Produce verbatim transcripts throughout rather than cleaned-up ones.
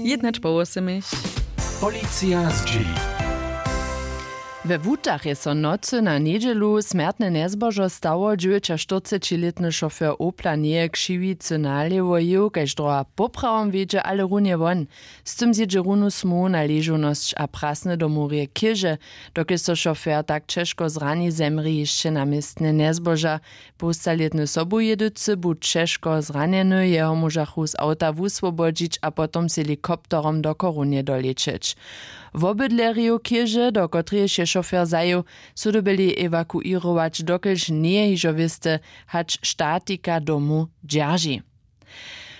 Jědnać po wosomich. Policija zdźěli. We wutach je so nocy na njedźelu smjertne njezbožo stało. Dźewjećaštyrcećilětny šofjer opla njeje křiwicy nalěwo jěł, kaž droha poprawom wjedźe, ale runje won. Z tym zjědźe runu smołu na ležownosć a prasny do murje chěže. Dokelž so šofjer tak ćežko zrani, zemrě hišće na městnje njezboža. Połstalětny sobujědycy bu ćežko zranjeny, jeho móžachu z awta wuswobodźić a potom z helikopterom do chorunje dolećeć. Wobydlerjow chěže, do kotrejež je šofjer zajěł, su dyrbjeli ewakuěrować, dokelž njeje hižo wěste, hač statika domu dźerži.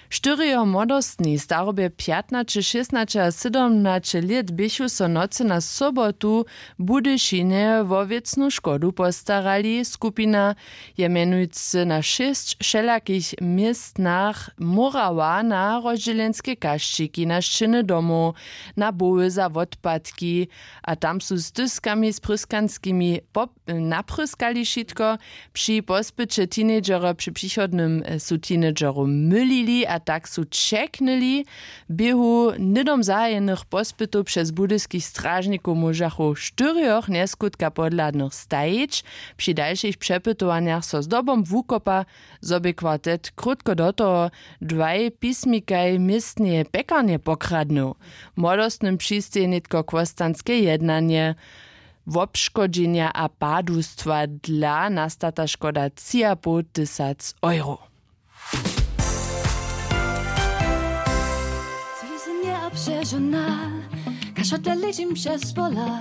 Štyrjo młodostni w starobje pjatnaće šěsnaće a sydomnaće lět běchu so nocy na sobotu w budyšinje wo wěcnu škodu postarali. Skupina je mjenujcy na šěsć wšelakich městnach mórała na rozdźělenske kašćiki, na šćěny domoł, na boły za wotpadki, a tam su z tyskami z pryskanskimi pop- napryskali wšitko. Při pospyće teenagerjo při přichodnym, e, su teenagerjow mylili a tak su ćeknyli. W běhu hnydom zahajenych pospytow přez budyskich stražnikow móžachu štyrjoch njeskutka podhladnych stajić. Při dalšich přepytowanjach so zdobom wukopa, zo bě kwartet krótko do toho dwaj pismikaj městneje pjekarnje pokradnył. Młodostnym přistej nětko chłostanske jednanje. Wobškodźenja a padustwa dla nastata škoda tři a poł tysac euro. Zwizynje a přežona, kašo te ležim přez pola.